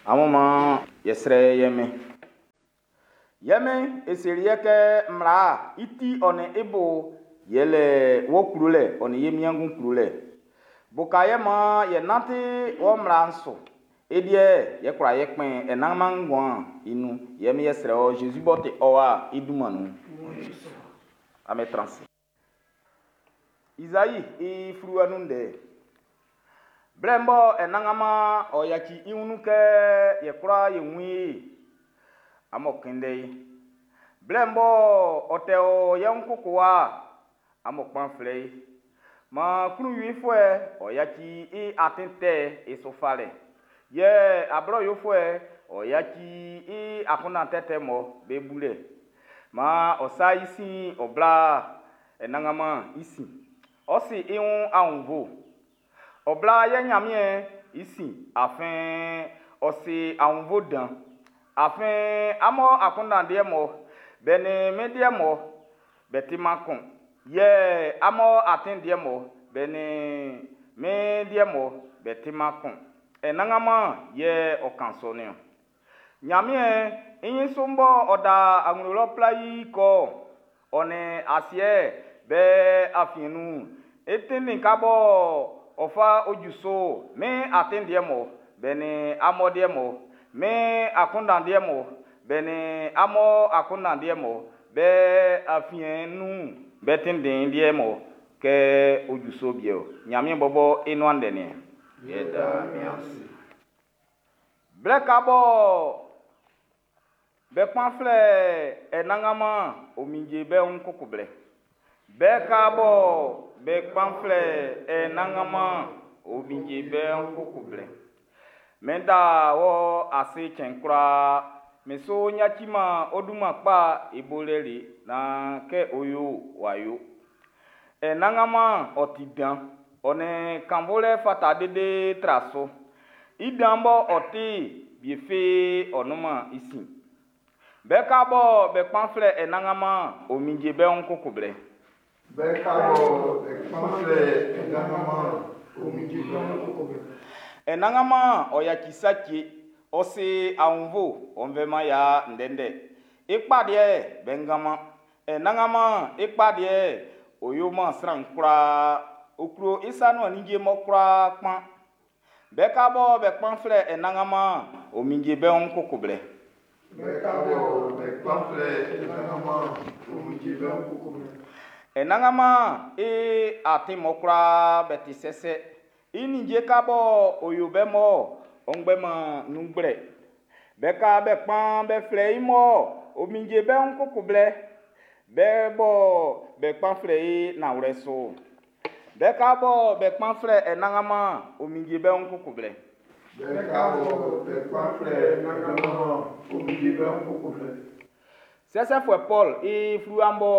Amun maan yɛ srɛ ye Min. Ye Min, e seli yɛ kɛ mmla'n i ti ɔ nin i bo yɛle wɔ klolɛ ɔ nin ye wiengu klolɛ. Uka ye maan ye nanti wɔ mmla'n su. I liɛ'n, yɛ kwla ye kpɛn anannganman nguan'n i nun. Ye Min yɛ srɛ wɔ Zezi m'ɔ ti ɔ Wa'n i dunman nun. Amun tran ase. Izai i fluwa nun ndɛ. Blɛ bɔ Anannganman ɔ yaci i wun nun kɛ ye kwlaa ye wun i'n, amun kunndɛ i. Blɛ bɔ ɔ tɛ o ye wun koko wa'n, amun kpan flɛ i. Maan klunwifuɛ'n ɔ yaci i atin tɛ'n i su falɛ, yɛ ablɔ yofuɛ'n ɔ yaci i akunndan tɛtɛ'm be bulɛ. Maan ɔ sa i sin ɔ bla Anannganman i sin. Ɔ si i wun aunnvuɛ. Ɔ bla ye Ɲanmiɛn'n i sin, afin ɔ si aunnvuɛ dan. Afin amun akunndan liɛ'm be nin min liɛ'm be timan kun, yɛ amun atin liɛ'm be nin min liɛ'm be timan kun. Anannganman yɛ ɔ kan sɔ niɔn. Ɲanmiɛn i ɲin su m'ɔ da nglo lɔ plaii'n kɔ'n, ɔ nin asiɛ'n be afiɛn nun'n, i tinnin kan bɔ ɔ fa ju su'n, min atin liɛ'm be nin amun liɛ'm, min akunndan liɛ'm be nin amun akunndan liɛ'm be afiɛn'n nun'n, be tinndin liɛ'n kɛ ɔ ju sɔ wie ɔ. Ɲanmiɛn bɔbɔ i nuan ndɛ niɛn. Blɛ ka bɔ be kpan flɛ Anannganman'n, ɔ minndɛ be wun koko blɛ. Be ka bɔ be kpan flɛ Anannganman'n, ɔ minndɛ be wun koko blɛ. Min da wɔ ase cɛn kwlaa. Min su yaciman ɔ dunman kpa'n i bolɛ le naan kɛ ɔ yo'n w'a yo. Anannganman ɔ ti dan, ɔ nin kannvunlɛ fata lele tra su. I dan mɔ ɔ ti'n, wie fi ɔ nunman i sin. Be ka bɔ be kpan flɛ Anannganman'n, ɔ minndɛ be wun koko blɛ. Be ka bɔ be kpan flɛ Anannganman'n, ɔ minndɛ be wun koko blɛ. Anannganman ɔ yaci sa cɛ, ɔ si aunnvuɛ, ɔ faman ya ndɛndɛ. I kpa liɛ'n, be nganman. Anannganman i kpa liɛ'n, ɔ yo man sran kwlaa. Ɔ klo i sa nuan ninnge'n kwlaa kpan. Be ka bɔ be kpan flɛ Anannganman'n, ɔ minndɛ be wun koko blɛ. Be ka bɔ be kpan flɛ Anannganman'n, ɔ minndɛ be wun koko blɛ. Anannganman i atin'm kwlaa be ti sɛsɛ. I ninnge ka bɔ ɔ yo be mɔ ɔ ngbɛnman nun gblɛ. Be ka be kpan be flɛ i mɔ ɔ minndɛ be wun koko blɛ. Be bɔ be kpan flɛ i nanwlɛ su'n. Be ka bɔ be kpan flɛ Anannganman'n, ɔ minndɛ be wun koko blɛ. Be ka bɔ be kpan flɛ Anannganman'n, ɔ minndɛ be wun koko blɛ. Sɛsɛfuɛ Pɔl i fluwa'n bɔ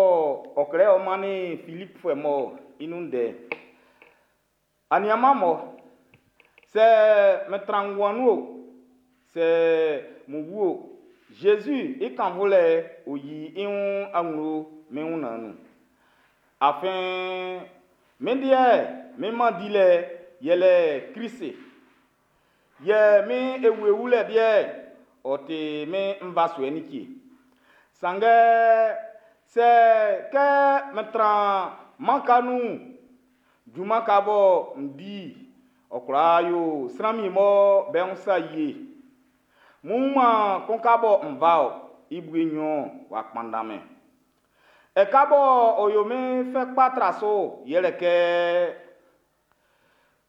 ɔ klɛ ɔ mannin Filipfuɛ mun'n i nun ndɛ. Aniaan'm mɔ, sɛ min tran nguan nun o, sɛ min wu o, Zezi i kannvunlɛ'n ɔ yi i wun nglo min wunnɛn'n nun. Afin min liɛ'n, min mɛn dilɛ'n yɛle Klisi. Yɛ min ewie wulɛ liɛ'n, ɔ ti min nvasuɛ like. Sanngɛ sɛ kɛ min tran mɛn nga nun'n, junman ka bɔ n di'n, ɔ kwla yo sran wie'm be wun sa ye. N wunman kun ka bɔ n fa-ɔ, i bue nɲɔn'n w'a kpanndan min. Ɛka bɔ ɔ yo min fɛ kpa tra su'n yɛle kɛ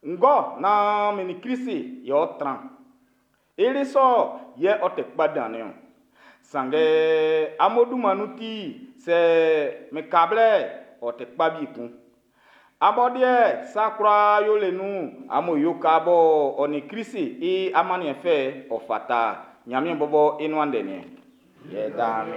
n kɔ naan min nin Klisi yɛ ɔ tran. I li sɔ'n yɛ ɔ ti kpa dan'n niɔn. Sanngɛ amun dunman nun ti'n, sɛ min ka blɛ'n, ɔ ti kpa wie kun. Amun liɛ'n, sa kwlaa yolɛ nun'n, amun yo ka bɔ ɔ nin Klisi i amanniɛn fɛ'n ɔ fata. Ɲanmiɛn bɔbɔ i nuan ndɛ niɛn. Yɛ dan